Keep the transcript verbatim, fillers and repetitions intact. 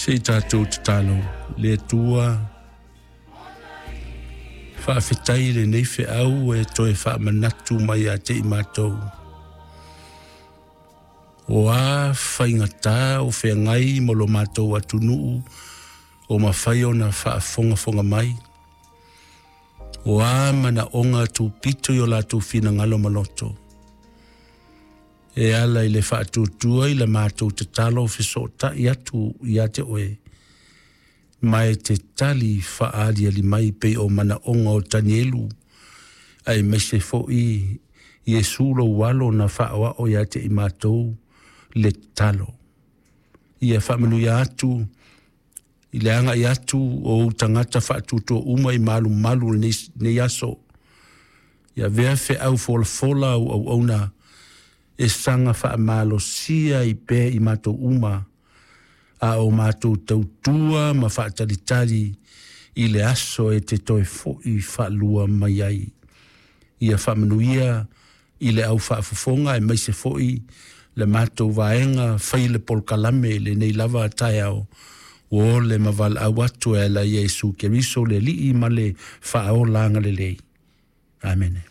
Se i tatou tatalo le Atua faafetai lenei feau e toe faamanatu mai ia te i matou. O a faigata o feagai ma lo matou atunuu o mafai ona faafogafoga mai. O a manaoga tupito i o latou finagalo ma loto. E ala i le faatuatua i le matou tatalo fesootai atu ia te oe, ma e te tali faaaliali mai pei o manaoga o Tanielu, aemaise foi Iesu lou alo na faaoao ia te i matou le tatalo. Ia faamanuia atu i le agai atu o ou tagata faatuatua uma i malumalu o lenei, lenei aso. Ia avea feau folafola au auauna e saga faamalosia ai pea i matou uma, a o matou tautua ma faatalitali i le aso e te toe foi faalua mai ai. Ia faamanuia i le au faafofoga aemaise foi le matou vaega fai le polokalame i lenei lava taeao, ua ole ma valaau atu e ala ia Iesu Keriso le Alii ma le faaola agalelei. Amene.